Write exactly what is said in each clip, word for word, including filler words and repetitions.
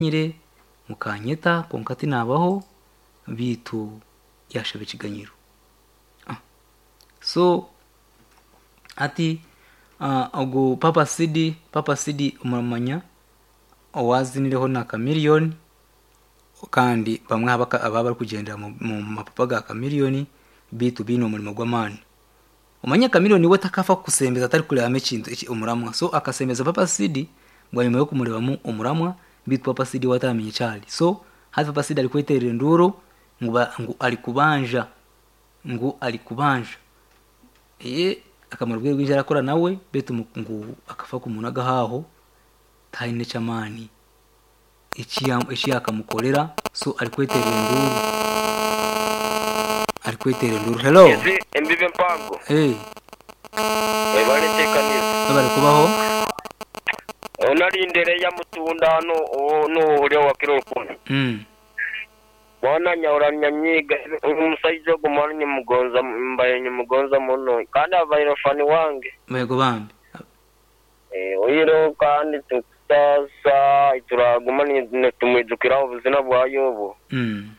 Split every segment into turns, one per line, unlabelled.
Nyire mukanyeta kwonka tinabaho bitu yashaba ekiganyiro. So hati ogu Papa Sidi, Papa Sidi muramumanya owazinireho na Chameleone kandi bamwe ababa barikugyendera omu mapapa ga Chameleone bitu biine omurimo gw'amaani. Omanye Chameleone we takafa kukusembeza atarikureebamu ekintu omuramwa so akasembeza Papa Sidi bwanyima y'okumureebamu omuramwa bitu Papa Sidi we ataramanya eki ari. So hati Papa Sidi arikweterera enduuru ngu arikubanja ngu arikubanja akamara obwire bwingi arakora nawe bitu ngu akafa kumunaga aho tihaine eky'amaani eki yakamukorera so arikweterera enduuru arikweterera enduuru. Hello.
Ezi embibo empango
Hey,
ebare enteekaniza
webare kubaho.
onarindere ya mutunda hano nuhurya wakiro rukumi
Mm.
mwana nyahura nyanyiga omusaiza ogu mwana nyimugonza mbaye nyimugonza muno kandi abaire fani wange
Yego bambi.
Eh, oyireho kandi tukusasa turaguma nitumwijukiraho obuzina bwayo obwo
Mm.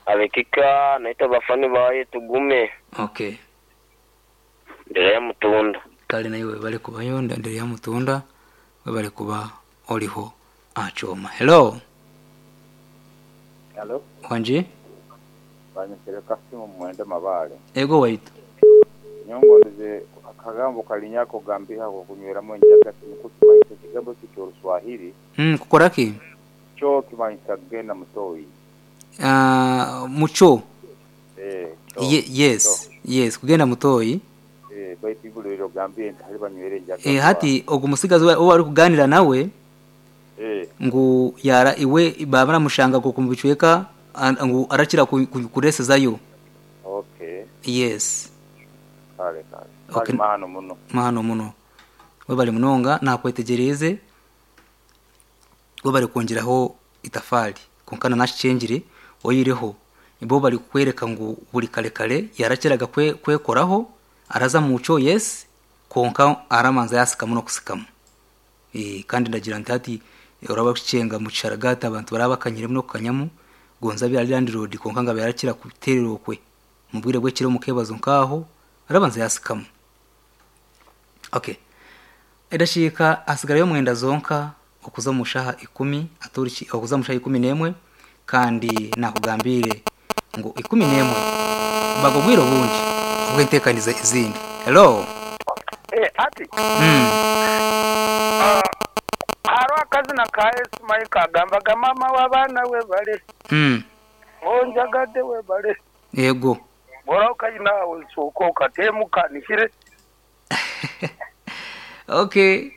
abekika naitwe abafani baye tugume
Okay.
ndere ya mutunda
Kale nawe webare kubayo ndendere ya mutunda webare kuba oriho achoma. Hello.
Halo,
Wanje?
banyesere Kasimu mwende mabale.
Ego waitu.
Nyongondeze akagambo kalinyako gambiha ko kunyweramu enjaga kimukukimanyisa ekigambo ekyo ky'Oluswahili
Mm, kukora ki?
kyo kimanyisa kugenda mutoyi.
Uh, mucho.
Eh, kyo,
Ye, yes. Yes, kugenda mutoyi.
Eh, baitu ibuliro eryo gambire nti hali banywera enjaga.
Eh, hati ogu musigazi owu arikuganira nawe
Eh,
ngu yara iwe baba baramushanga ngo kumubicweka an- ngu arakira ku- ku- kuresezayo.
okay.
Yes.
Kale kale.
Okay.
Kale mahano muno.
Mahano muno. Webare munonga nakwetegereze webare kwongeraho itafari konka nanakicengire oyireho bo bari kukwereka ngu buri kare kare yarakiraga kwe, kwekoraho araza muco yes konka aramanza yasikamu nokusikamu e, kandi ndagira nti hati uraba kucenga mu kisharagati abantu baraba bakanyiremu nokukanyamu gonza byari landlord konka nga yarakira kuterera okwe mu bwire bw'ekiro mukebazo nkaho arabanza yasikamu. Okay, edashiika hasigarayo mwenda zonka okuza mu shaha ikumi aturiki okuza mu shaha ikumi n'emwe kandi nakugambire ngu ikumi n'emwe bagobwire obundi obwenteekaniza ezindi. Hello.
Eh, ati
mm.
ah, hariho akazina ka Yesu mayi kagambaga mama w'abaana we bale
Mm.
onjagadde we bale
Yego.
bora okayina sooka okateemu kanikire.
Okay.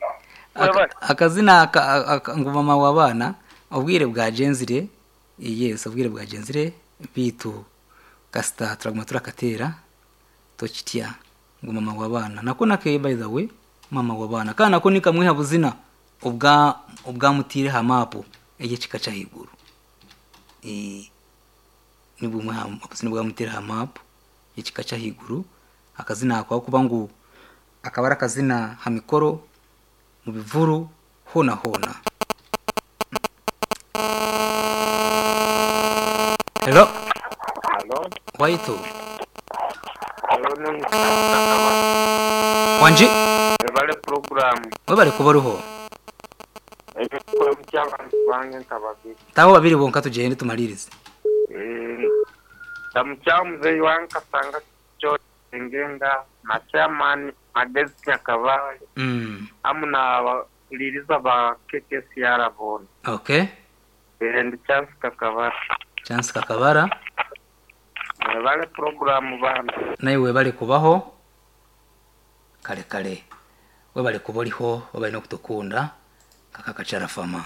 Aka,
Webale.
akazina aka, aka, ngu mama w'abaana obwire bwagenzire yes obwire bwagenzire bitu kasita turaguma turakateera tokitya ngu mama w'abaana nako nake by the way mama w'abaana kandi nako ni kamwe ha buzina obwa obwamutiire ha mapu ey'ekika ky'ahaiguru. Eh, ni bumwe ha obuzina obwamutiire ha mapu ekika ky'ahaiguru akazina ako ahakuba ngu akaba ari akazina ha mikoro mu bivuru hoona hoona. Hello.
Halo,
Waitu.
halo n'omusakaba
Wanji.
webale puroguramu
Webare kuba oriho.
ebikora by'abantu bange nka babiri.
Taho babiri bonka tugende tumalirize.
Ndamukya muzeeyi wange kasanga kyo ngenda na chairman Magezi Nyakabale
Mm.
hamu n'abakuliriza ba K K C R boona.
Okay.
Eh, ndi Chance Kakabara.
Chance Kakabara.
Webale puroguramu bana.
Nawe webale kubaho kare kare webale kuba oriho webale n'okutukunda kakakacarafama.